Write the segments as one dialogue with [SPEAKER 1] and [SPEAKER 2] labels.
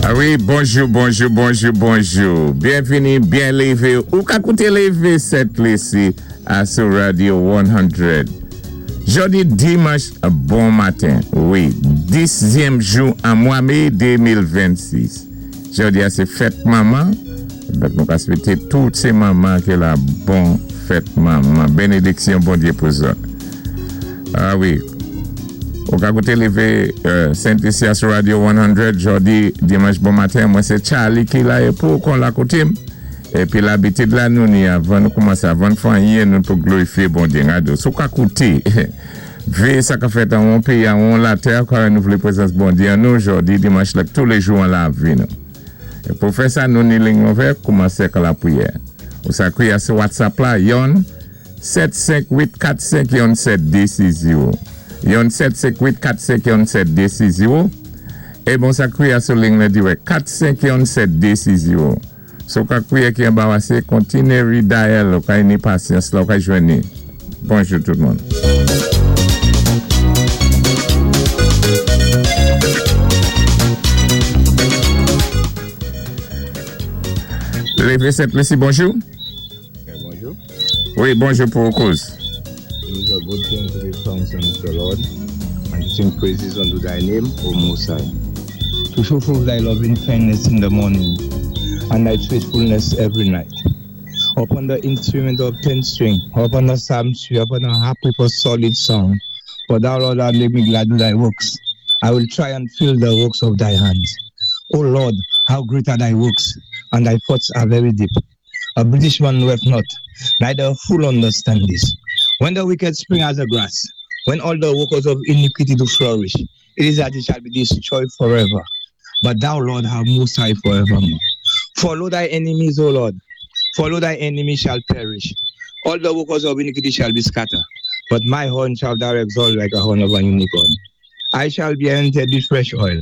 [SPEAKER 1] A wi, bonjou, bonjou, bonjou, bonjou. Byenvini, byen lévé. Ou ka kouté Lévé Sent Lisi a sou Radio 100. Jòdi dimanch bon maten. Wi, 10zyèm jou an mwa mé 2026. Jòdi a sé fèt manman. Donk nou ka swété tout sé manman ki la bon fèt manman. Benediksyon Bondyé pou zòt. A wi. Ou ka koute Leve Sent Lisi a sou Radio 100 jòdi dimanch bon maten. Mwen se Charly ki la e pou kon la koute m. Epi labitid la nou ni avan nou koumanse avan n fè anyen nou pou glorifye Bondye. Gade si w ka koute veye sa ka fèt anwon peyi anwon latè a kware nou vle prezans Bondye an nou jòdi dimanch lèk toulejou an lavi nou. E pou fè sa nou ni ling ouvè koumanse ak lapriyè. Ou sa kriye a sou WhatsApp la yon 7 5 8 4 5 yon 7 2 6 0 yon 7 5 8 4 5 yon 7 2 6 0 E bon sa kriye a sou ling lan dirèk 4 5 yon 7 2 6 0 Si w ka kriye ki anbarase kontinye redial ou ka ni pasyans la ou ka jwenn ni. Bonjou tout moun. Leve 7 mesi bonjou.
[SPEAKER 2] Bonjou.
[SPEAKER 1] Wi, bonjou pou ou kouz.
[SPEAKER 2] It is a good thing to give thanks unto the Lord and to sing praises unto thy name, O Most High. To show forth thy loving kindness in the morning and thy faithfulness every night. Upon the instrument of ten string, upon the psaltery, upon the harp with a solid sound. For thou, Lord, hast made me glad with thy works. I will try and fill the works of thy hands. O Lord, how great are thy works, and thy thoughts are very deep. A Britishman knoweth not, neither a fool understand this. When the wicked spring as the grass, when all the workers of iniquity do flourish, it is that it shall be destroyed forever. But thou, Lord, art most high forevermore. Follow thy enemies, O Lord. Follow thy enemies shall perish. All the workers of iniquity shall be scattered. But my horn shall thou exalt like a horn of an unicorn. I shall be anointed with fresh oil.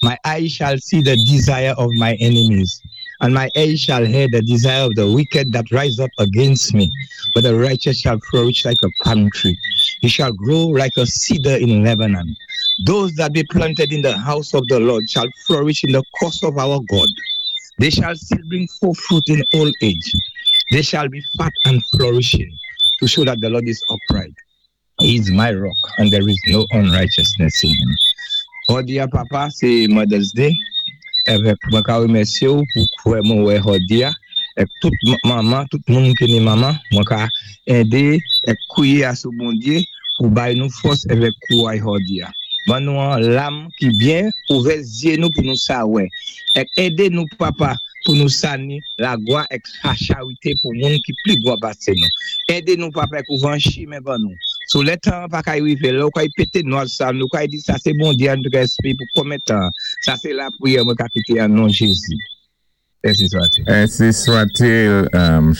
[SPEAKER 2] My eyes shall see the desire of my enemies, and my ears shall hear the desire of the wicked that rise up against me. But the righteous shall flourish like a palm tree. He shall grow like a cedar in Lebanon. Those that be planted in the house of the Lord shall flourish in the course of our God. They shall still bring forth fruit in old age. They shall be fat and flourishing to show that the Lord is upright. He is my rock and there is no unrighteousness in him. Jòdi a papa sé Mother's Day èvèk mwen ka wémèsyé ou pou kwè mwen wè jòdi a èk tout manman tout moun ki ni manman mwen ka édé èk kwiyé a sou Bondyé pou bay nou fòs èvèk kouray jòdi a ban nou an lam ki byen ouvè zyé nou pou nou sa wè èk édé nou papa pou nou sa ni lagwa èk sa charité pou moun ki pli gwan pasé nou. Édé nou papa èk ouvan chimen ban nou. Sou lè tan an pa kay rivé, lè ou kay pété nwaj sa nou kay di sa sé Bondyé an nou kay espé pou konmen tan an. Sa sé lapriyè mwen ka kité an non Jézi. Ensi swatil.
[SPEAKER 1] Ensi swatil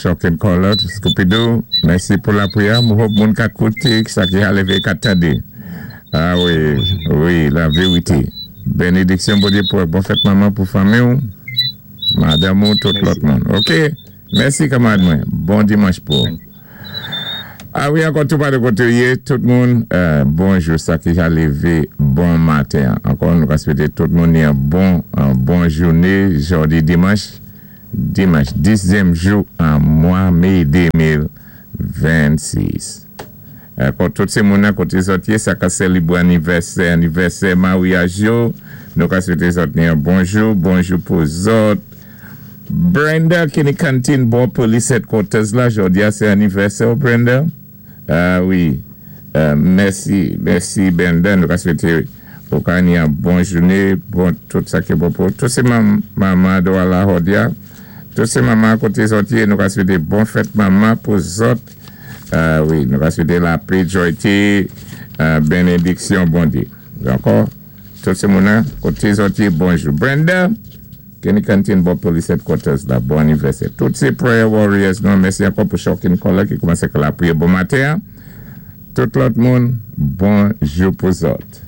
[SPEAKER 1] Shocking Caller Scoopidou mèsi pou lapriyè m hope moun ka koute sa ki ha leve ka tande ah wi wi la verite benediksyon Bondye pou bon fèt manman pou fanmi w. Madanm ou tout lòt moun ok mèsi kanmarad mwen bon dimanch pou ou a wi ankò tou pa de kote ou ye tout moun bonjou sa ki ja leve bon maten ankò nou ka swete tout moun yon bon bon joune jòdi dimanch dimanch 10 zyèm jou an mwa me 2026 ankò tout se moun nan kote zòt ye sa ka selebre anivèsè anivèsè maryaj yo nou ka swete zòt ni yon bonjou bonjou pou zòt Brenda ki ni kantin bò police headquarters la jodi a se anivèsè w Brenda ah wi mèsi mèsi Brenda nou ka swete ou ka ni yon bon joune bon tout sa ki bon pou ou tout se manman dwa la jodi a tout se manman kote zòt ye nou ka swete bon fèt manman pou zòt. Wi, nou va swete lapé, joyte, benediksyon Bondye. Ankò, tout se moun nan, kote zòt ye, bonjou. Brenda, Kenny Canteen bò Police Headquarters la, bon anivèsè. Tout se prayer warriors nou, mèsi ankò pou Shocking Caller ki koumanse ak lapriyè bon maten an. Tout lòt moun, bonjou pou zòt.